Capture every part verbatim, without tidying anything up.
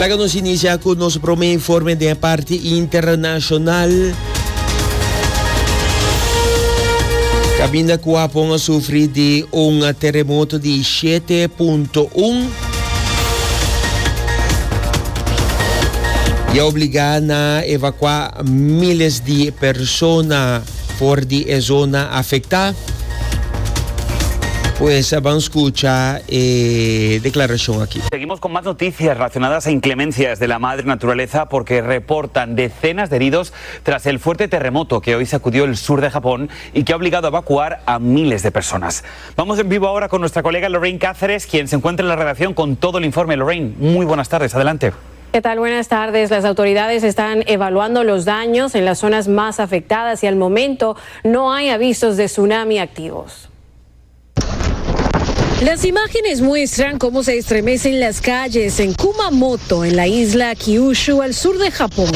Laga nos inicia cu nos prome informe di parti internacional. Caminda cu Japon a sufri di un terremoto di shete punto un y a obliga na evacua miles di persona for di e zona afecta. Pues vamos a escuchar eh, declaración aquí. Seguimos con más noticias relacionadas a inclemencias de la madre naturaleza, porque reportan decenas de heridos tras el fuerte terremoto que hoy sacudió el sur de Japón y que ha obligado a evacuar a miles de personas. Vamos en vivo ahora con nuestra colega Lorraine Cáceres, quien se encuentra en la redacción con todo el informe. Lorraine, muy buenas tardes, adelante. ¿Qué tal? Buenas tardes. Las autoridades están evaluando los daños en las zonas más afectadas y al momento no hay avisos de tsunami activos. Las imágenes muestran cómo se estremecen las calles en Kumamoto, en la isla Kyushu, al sur de Japón.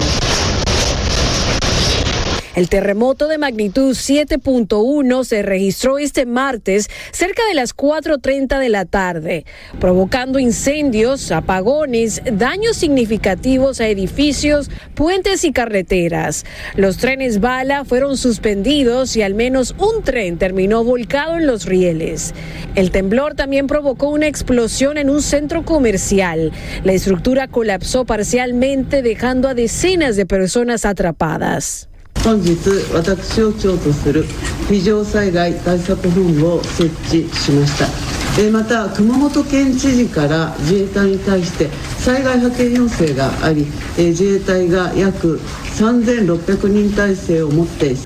El terremoto de magnitud siete punto uno se registró este martes cerca de las cuatro treinta de la tarde, provocando incendios, apagones, daños significativos a edificios, puentes y carreteras. Los trenes bala fueron suspendidos y al menos un tren terminó volcado en los rieles. El temblor también provocó una explosión en un centro comercial. La estructura colapsó parcialmente, dejando a decenas de personas atrapadas.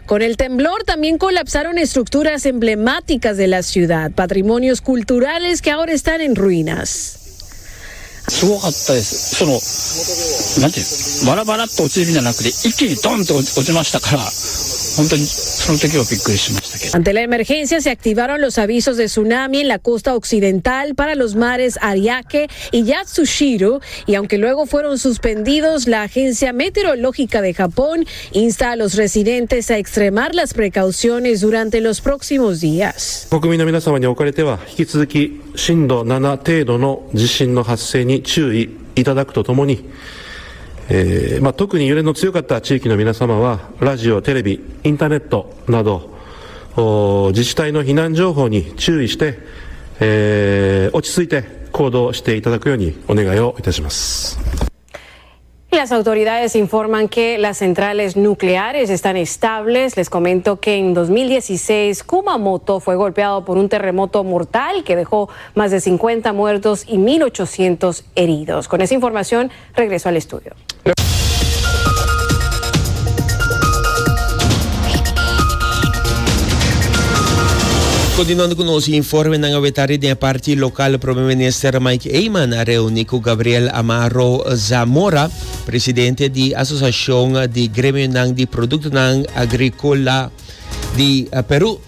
Con el temblor también colapsaron estructuras emblemáticas de la ciudad, patrimonios culturales que ahora están en ruinas. Ante la emergencia se activaron los avisos de tsunami en la costa occidental para los mares Ariake y Yatsushiro, y aunque luego fueron suspendidos, la Agencia Meteorológica de Japón insta a los residentes a extremar las precauciones durante los próximos días. Las autoridades informan que las centrales nucleares están estables. Les comento que en dos mil dieciséis Kumamoto fue golpeado por un terremoto mortal que dejó más de cincuenta muertos y mil ochocientos heridos. Con esa información regreso al estudio. Continuando con los informes, en Avetari de parte local, Primer Minister Mike Eman a reunir con Gabriel Amaro Zamora, presidente de Asociación de Gremio de Productos Agrícola de Perú,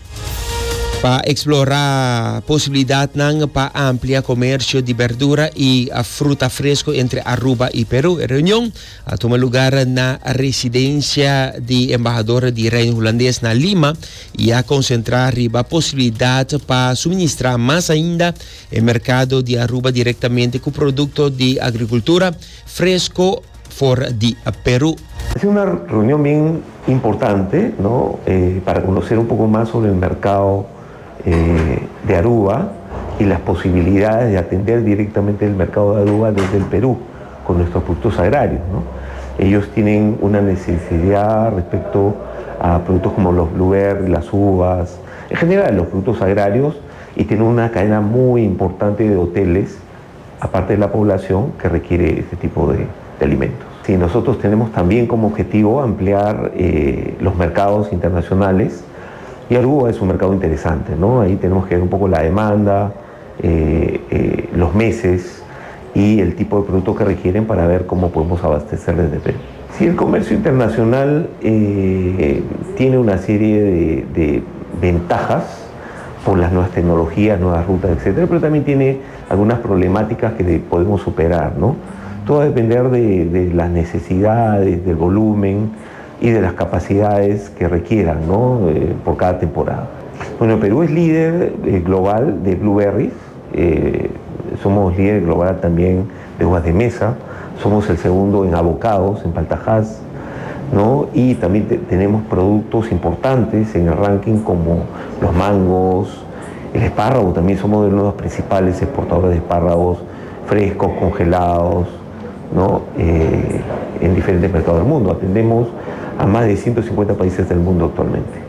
para explorar posibilidad para ampliar comercio de verdura y fruta fresco entre Aruba y Perú. La reunión a tomar lugar en la residencia de embajador de Reino Holandés en Lima y a concentrar la posibilidad para suministrar más ainda el mercado de Aruba directamente con productos de agricultura fresco for de Perú. Ha sido una reunión bien importante, ¿no? Eh, para conocer un poco más sobre el mercado Eh, de Aruba y las posibilidades de atender directamente el mercado de Aruba desde el Perú con nuestros productos agrarios, ¿no? Ellos tienen una necesidad respecto a productos como los blueberries, las uvas, en general los productos agrarios, y tienen una cadena muy importante de hoteles, aparte de la población que requiere este tipo de, de alimentos. Sí, nosotros tenemos también como objetivo ampliar eh, los mercados internacionales. Y Aruba es un mercado interesante, ¿no? Ahí tenemos que ver un poco la demanda, eh, eh, los meses y el tipo de producto que requieren para ver cómo podemos abastecer desde Perú. Sí, el comercio internacional eh, tiene una serie de, de ventajas por las nuevas tecnologías, nuevas rutas, etcétera, pero también tiene algunas problemáticas que podemos superar, ¿no? Todo va a depender de, de las necesidades, del volumen y de las capacidades que requieran, ¿no? Eh, por cada temporada. Bueno, Perú es líder eh, global de blueberries, eh, somos líder global también de uvas de mesa, Somos el segundo en avocados, en palta Hass, ¿no? Y también te tenemos productos importantes en el ranking como los mangos, el espárrago. También somos de los principales exportadores de espárragos frescos, congelados, ¿no? Eh, en diferentes mercados del mundo. Atendemos a más de ciento cincuenta países del mundo actualmente.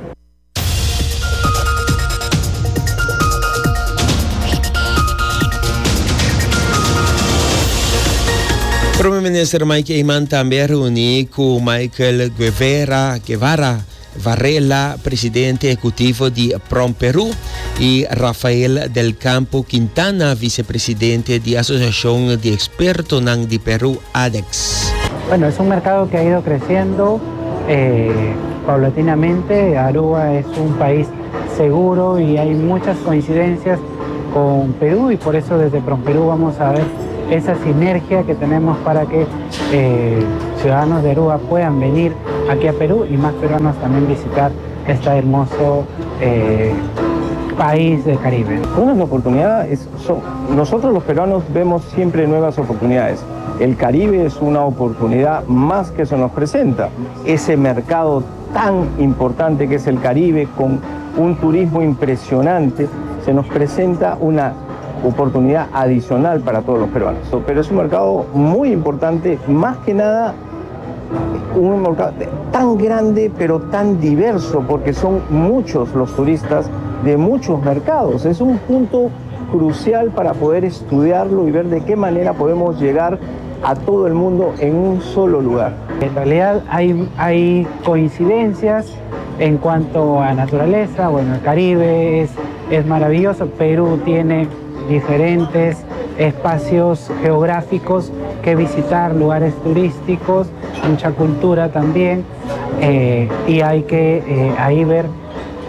Prome Minister Mike Eman tambe a reuni cu Michael Guevara, Guevara Varela, presidente ehecutivo di PromPerú, y Rafael del Campo Quintana, vicepresidente di Asociacion di Expertonan di Perú, ADEX. Bueno, es un mercado que ha ido creciendo, eh, paulatinamente. Aruba es un país seguro y hay muchas coincidencias con Perú, y por eso desde PromPerú vamos a ver esa sinergia que tenemos para que, eh, ciudadanos de Aruba puedan venir aquí a Perú y más peruanos también visitar este hermoso, eh, país del Caribe. Una oportunidad es, son, nosotros los peruanos vemos siempre nuevas oportunidades. El Caribe es una oportunidad más que se nos presenta. Ese mercado tan importante que es el Caribe, con un turismo impresionante, se nos presenta una oportunidad adicional para todos los peruanos. Pero es un mercado muy importante, más que nada un mercado tan grande pero tan diverso, porque son muchos los turistas de muchos mercados. Es un punto crucial para poder estudiarlo y ver de qué manera podemos llegar a todo el mundo en un solo lugar. En realidad hay, hay coincidencias en cuanto a naturaleza. Bueno, el Caribe es, es maravilloso. Perú tiene diferentes espacios geográficos que visitar, lugares turísticos, mucha cultura también, eh, y hay que, eh, ahí ver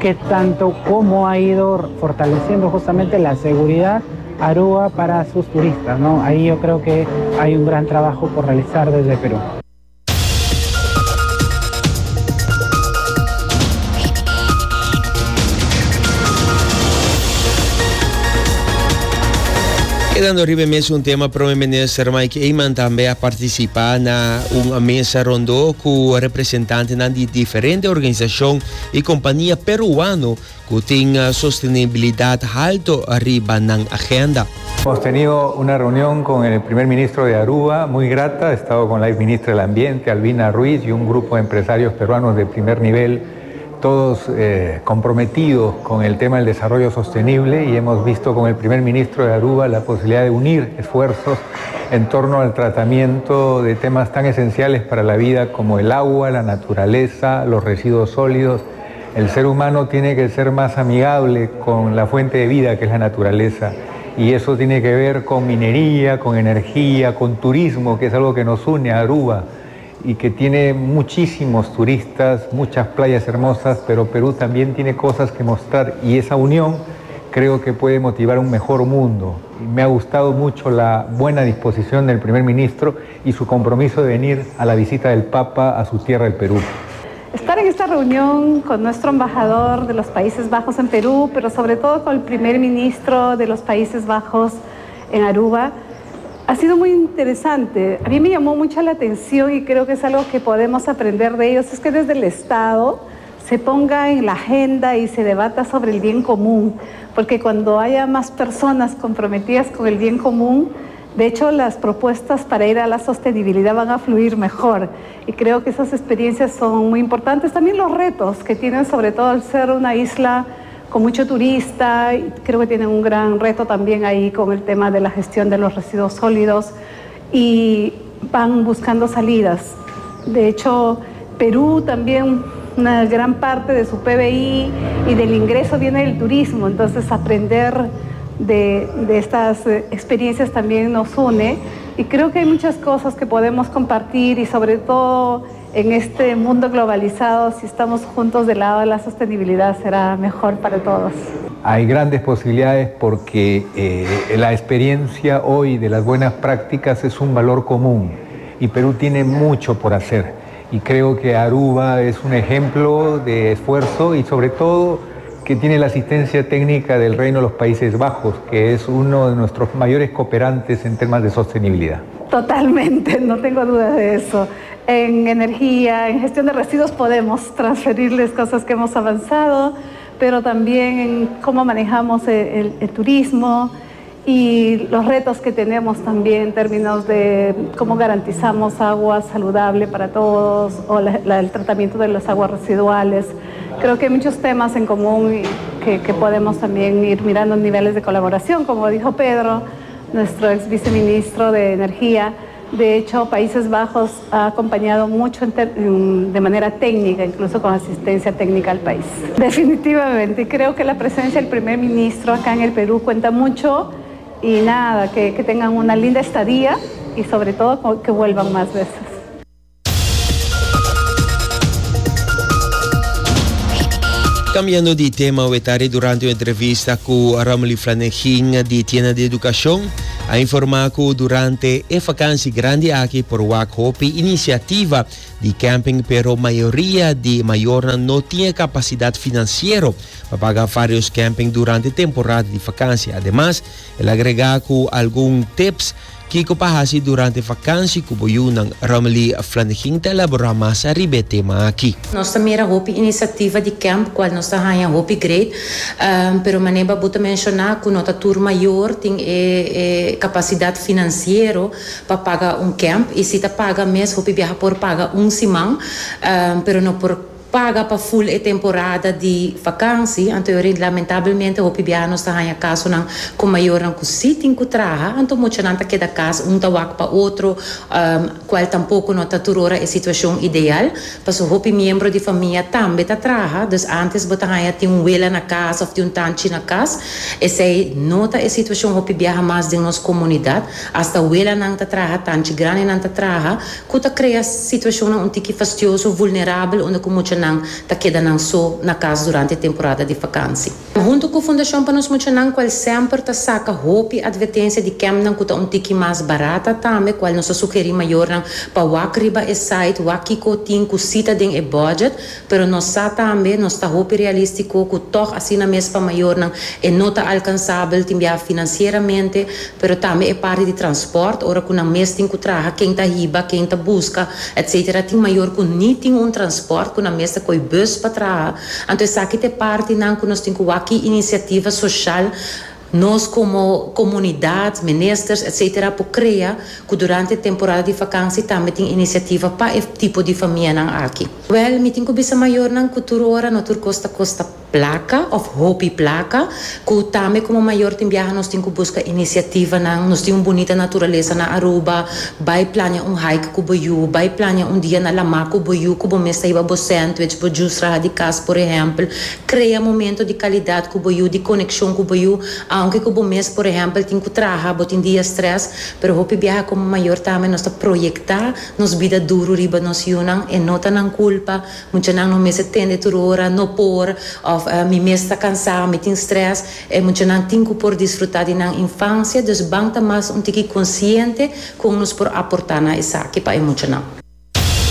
qué tanto, cómo ha ido fortaleciendo justamente la seguridad Aruba para sus turistas, ¿no? Ahí yo creo que hay un gran trabajo por realizar desde Perú. Kedando riba mes un tema, Prome Minister Mike Eman tambe a participa na un mesa rondo cu representantenan di diferente organisacion y compania peruano cu tin sostenibilidad alto riba nan agenda. Hemos tenido una reunión con el primer ministro de Aruba, muy grata. He estado con la ex ministra del Ambiente, Albina Ruiz, y un grupo de empresarios peruanos de primer nivel, todos, eh, comprometidos con el tema del desarrollo sostenible, y hemos visto con el primer ministro de Aruba la posibilidad de unir esfuerzos en torno al tratamiento de temas tan esenciales para la vida como el agua, la naturaleza, los residuos sólidos. El ser humano tiene que ser más amigable con la fuente de vida que es la naturaleza, y eso tiene que ver con minería, con energía, con turismo, que es algo que nos une a Aruba y que tiene muchísimos turistas, muchas playas hermosas, pero Perú también tiene cosas que mostrar, y esa unión creo que puede motivar un mejor mundo. Y me ha gustado mucho la buena disposición del primer ministro y su compromiso de venir a la visita del Papa a su tierra, el Perú. Estar en esta reunión con nuestro embajador de los Países Bajos en Perú, pero sobre todo con el primer ministro de los Países Bajos en Aruba, ha sido muy interesante. A mí me llamó mucho la atención y creo que es algo que podemos aprender de ellos, es que desde el Estado se ponga en la agenda y se debata sobre el bien común, porque cuando haya más personas comprometidas con el bien común, de hecho las propuestas para ir a la sostenibilidad van a fluir mejor, y creo que esas experiencias son muy importantes. También los retos que tienen, sobre todo al ser una isla con mucho turista, y creo que tienen un gran reto también ahí con el tema de la gestión de los residuos sólidos, y van buscando salidas. De hecho, Perú también, una gran parte de su P B I y del ingreso viene del turismo, entonces aprender de, de estas, eh, experiencias también nos une, y creo que hay muchas cosas que podemos compartir, y sobre todo en este mundo globalizado, si estamos juntos del lado de la sostenibilidad, será mejor para todos. Hay grandes posibilidades porque, eh, la experiencia hoy de las buenas prácticas es un valor común, y Perú tiene mucho por hacer. Y creo que Aruba es un ejemplo de esfuerzo y sobre todo que tiene la asistencia técnica del Reino de los Países Bajos, que es uno de nuestros mayores cooperantes en temas de sostenibilidad. Totalmente, no tengo duda de eso. En energía, en gestión de residuos podemos transferirles cosas que hemos avanzado, pero también en cómo manejamos el, el, el turismo y los retos que tenemos también en términos de cómo garantizamos agua saludable para todos o la, la, el tratamiento de las aguas residuales. Creo que hay muchos temas en común que, que podemos también ir mirando en niveles de colaboración, como dijo Pedro, nuestro ex viceministro de Energía. De hecho, Países Bajos ha acompañado mucho en ter, de manera técnica, incluso con asistencia técnica al país. Definitivamente, creo que la presencia del primer ministro acá en el Perú cuenta mucho y nada, que, que tengan una linda estadía y sobre todo que vuelvan más veces. Cambiando di tema, Wetari durante un entrevista cu Romely Flanegin di Tienda di Educacion a informa cu durante e vakantie grandi aki por wak hopi iniciativa di camping, pero mayoria di mayornan no tin capacidad financiero pa paga varios camping durante temporada di vakantie. Ademas, el a agrega cu algun tips kico pa haci durante vakantie cu bo yiunan. Romely Flanegin ta elabora mas ariba e tema aki. Nos ta mira hopi iniciativa di camp, cual nos ta haya hopi great, um, pero manera bo ta menciona cu no ta tur mayor tin e, e capacidad financiero pa paga un camp y si ta paga mes hopi biaha por paga un siman, um, pero no por paga pa full e temporada di vakantie. Anto lamentablemente hopi biaha nos ta haya casonan cu mayornan cu si tin cu traha, anto muchanan ta keda cas un ta wak pa otro, um, cual tampoco no ta tur ora e situacion ideal. Paso hopi miembro di famia tambe ta traha, dus antes bo ta haya tin un wela na cas of tin un tanchi na cas. Esey no ta e situacion hopi biaha mas den nos comunidad, hasta welanan ta traha, tanchi grandinan ta traha, cu ta crea situacionnan un tiki fastioso, vulnerabel, unda cu muchanan ta keda nan so na cas durante temporada di vakantie. Hunto cu Fundacion Pa Nos Muchanan, cual semper ta saca hopi advertencia di campnan cu ta un tiki mas barata tambe, cual nos ta sugeri mayornan pa wak riba e site, wak kico tin cu si ta den e budget, pero nos sa tambe, nos ta hopi realistico cu toch asina mes pa mayornan e no ta alcansabel tin bia financieramente, pero tambe e parte di transporte, ora cu nan mes tin cu traha, ken ta hiba, ken ta busca, et cetera. Tin mayor cu ni tin un transporte, cu nan mes ta coy bus pa traha. Anto esaki ta partinan cu nos tin cu wak iniciativa social nos como comunidad, ministers, et cetera, por crea cu durante temporada di vakantie tambe tin iniciativa pa e tipo di famianan aki. Wel, mi tin cu bisa mayornan cu tur ora no tur cos ta costa placa of hopi placa, cu tambe como mayor tin biaha nos tin cu busca iniciativanan. Nos tin un bunita naturalesa na Aruba, bay plania un hike cu bo yiu, bay plania un dia na lama cu bo yiu, cu bo mes ta hiba bo sandwich, bo juice traha di cas, por ehempel, crea momento di calidad cu bo yiu, di conexion cu bo yiu, aunke cu bo mes, por ehempel, tin cu traha, bo tin dia stress, pero hopi biaha como mayor tambe nos ta proyecta nos bida duro riba nos yiunan y no ta nan culpa. Muchanan no mester tende tur ora "no por" of uh, "mi mes ta cansa, mi tin stress". E muchanan tin cu por disfruta di nan infancia, dus ban ta mas un tiki consciente con nos por aporta na esaki pa e muchanan.